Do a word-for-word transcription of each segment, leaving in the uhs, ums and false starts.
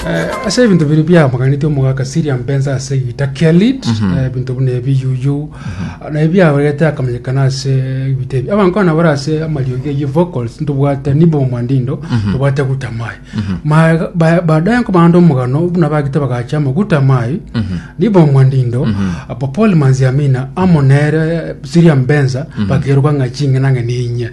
Eh, ase ebinto biri biamaganete omogaka Siria Mbenza ase egita kia lead, eh, ebinto buna ebiyuyu na ebiaberete akamanyekana ase ebita ebi abankwana bare ase amariogi eye vocals. Ntobwate Nibo Mwandindo, tobwate Gutamai. Ma- ba- baadaye nkobanda omogano buna bagite bagacha amaguta mai Nibo Mwandindo, Popol Manziamina amo nere Siria Mbenza bakeruka ng'a ching'ina ng'e ninye.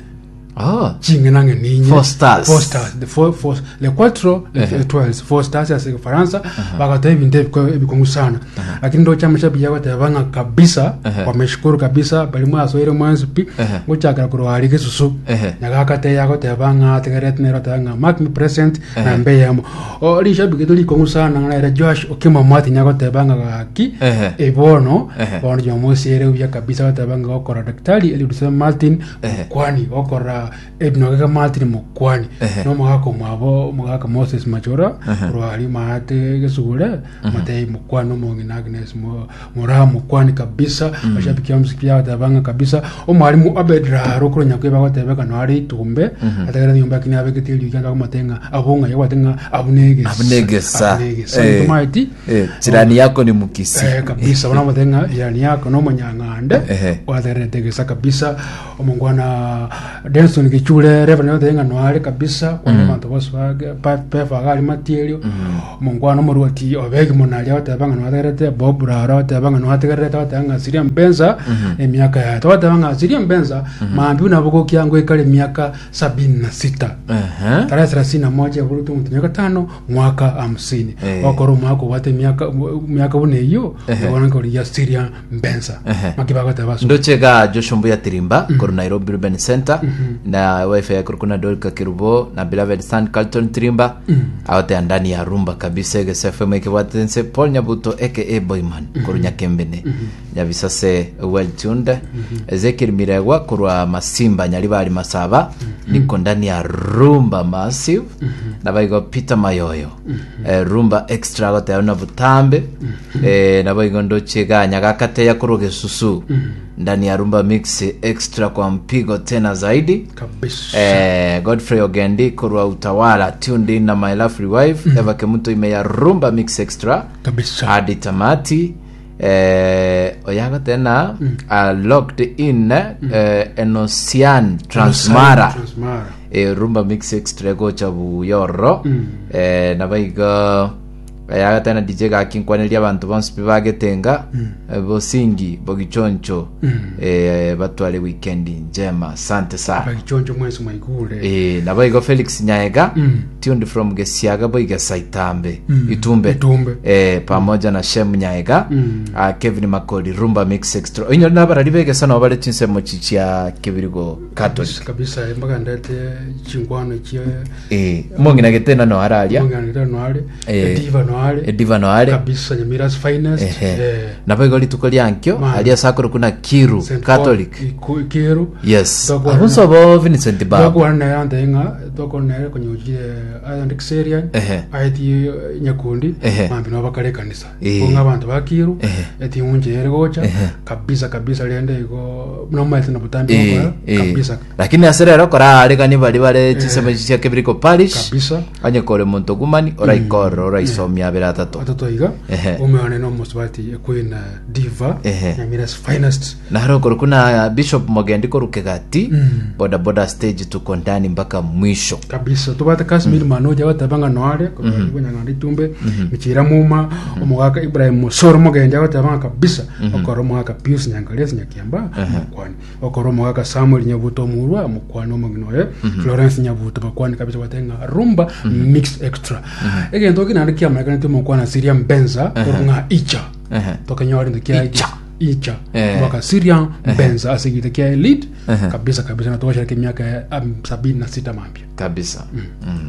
Oh. Ching'ina ng'e ninye. Four stars. Four stars, the four, four, le quattro le Ehe. étoiles, four stars ase Kifaransa. Bagatoa ebinto ebiko- ebikong'u sana, lakini ndocha amashabiki agoteba ng'a kabisa Ehe. wameshukuru kabisa bari mwasoire mwensi pi Ehe. gochakera korwa ari gesusu. Ehe. Nyagakate agoteba ng'a ategerete nero oteba ng'a mark me present. Ehe. Na mbe yamo o rishabiki to rikong'u sana ng'a nere Josh Okimo Martin agoteba ng'a gaki. Ehe. Ebono Ehe. bono Jumamosi ere buya kabisa agoteba ng'a gokora Daktari Eliud Martin Ehe. Mokwani gokora ebinogeka Martin Mokwani. Ehe. Nomogaka omwabo omogaka Moses Machora Ehe. korwa ari maate gesugure matei Mokwani, omong'ina Agnes Mo- Moraa Mokwani kabisa. Mashabiki amsiki agoteba ng'a kabisa omwarimu Abed Raro korwa Nyakwe bagotebeka no are itumbe ategera nyomba kini abegete eriogi ando agomote ng'a abo ng'a yagwate ng'a abunegesa. Abunegesa. Abunegesa. Eh. Tomaeti. Eh, jirani yako ni Mukisi. Eh, kabisa bono ng'a jirani yako nomonyang'ande. Ehe. Waterete gesa kabisa. Omongwana Denson Gichure Reverend othe ng'a noare kabisa kwana abanto bose bage- pa- pefa gari matierio. Omongwana omorwoti obegi monaria oteba ng'a noategerete Bob Rara oteba ng'a noategerete oteba ng'a Siria Mbenza emiaka yaye togoteba ng'a Siria Mbenza mambi nabo gokiango ekare emiaka sabini na sita. Ehe. Tarehe thelathini na moja eburutu omutinyi gatano mwaka hamsini. Eh. Okora omwaka obwate emiaka emiaka buna eyio. Ehe. Obona nkorigia Siria Mbenza. Ehe. Maki bagoteba so. Ndochega Joshua Mbuya Tirimba koru Nairobi Urban Center na wife yake kuna Dorika Kirubo na beloved son Carlton Tirimba aote ndani ya rumba kabisa. Egese F M ekebwatense Paul Nyabuto aka Boyman koru Nyakembene Nyabisase, well tuned. Ezekiel Miregwa korwa Masimba Nyaribari Masaba, niko ndani ya rumba massive. Na baigo Peter Mayoyo, eh, rumba extra goteo na butambe. eh, na baigo ndochega Nyagakateya korwa Gesusu, ndani ya rumba mix extra kwa mpigo tena zaidi. Kabisa. Eh, Godfrey Ogendi korwa Utawala, tuned in na my lovely wife Eva Kemuto ime ya rumba mix extra kabisa hadi tamati. eh, oyago tena uh, locked in eh, Enosian Transmara. Transmara. eh, rumba mix extra gocha buyoro. eh, nabaiga ayaga tena D J gakinkwaneria abantu bonsi pi bagetenga eh, bosingi bogichoncho eh, batware weekend njema, asante sana. Bagichonjo mwesi mwaigure. Eh, nabaigo Felix Nyaega, Mm. tuned from Gesiaga Boigesa Itambe Itumbe. Itumbe. eh, pamoja na Shem Nyaega, Mm. uh, Kevin Makoli, rumba mix extra inyo nabarari begesa nabo bare chinsemo chichia Kibirigo Catholic. Kabisa mpaka ndete chinkwano chie. eh, mong'ina getena no araria. Mong'ina noare. Eh. Ediva noare. Ediva noare. Kabisa, Nyamira's finest. Ehe. Eh. Nabo rituko ryankio Man. aria sakoro kuna Kiru Saint Catholic. Paul, Iku- Kiru. Yes. Twakwana- abunso bo Vincent Bab. Twakwana naye ante ng'a twakwana naye konyochire Island Xerian. Ehe. Aeti nyakundi. Ehe. Mambi no bakare kanisa. Eh. Konga abantu bakiru. Ehe. Eti unje gocha. Ehe. Kabisa kabisa rende igo nomaete na butambi Eh, bokora. eh. Kabisa. Lakini ase rero kora aregani bari bare chisemo chia Kibiriko Parish. Kabisa. Onye kore monto gumani oraikora oraisomia abere atato. Atatu iga. Ehe. Umeone no musubati Queen Diva. Ehe. Nyamira's finest. Naharo koro kuna Bishop Mogendi korukegati Mm. boda boda stage, tuko ndani mpaka mwisho. Kabisa tubate Kasmil Manoja batabanga noare kunyang'anda itumbe michira muma omogaka Ibrahim Musoro Mugenja batabanga kabisa okoro omogaka Pius Nyangalesi Nyakiamba mukwani okoro omogaka Samuel Nyabuto Murwa mukwani omogino oye Florence Nyabuto bakwani kabisa batenga rumba mix extra egento kinande kiamarekana timokwana Siria Mbenza orung'a icha. Ehe. Tokanyora into kia Icha. Icha. Eh. Mwaka Siria Mbenza asigite kia elite. Ehe. Kabisa kabisa na tuwashariki miaka ya um, sabini na sita mambia. Kabisa mm.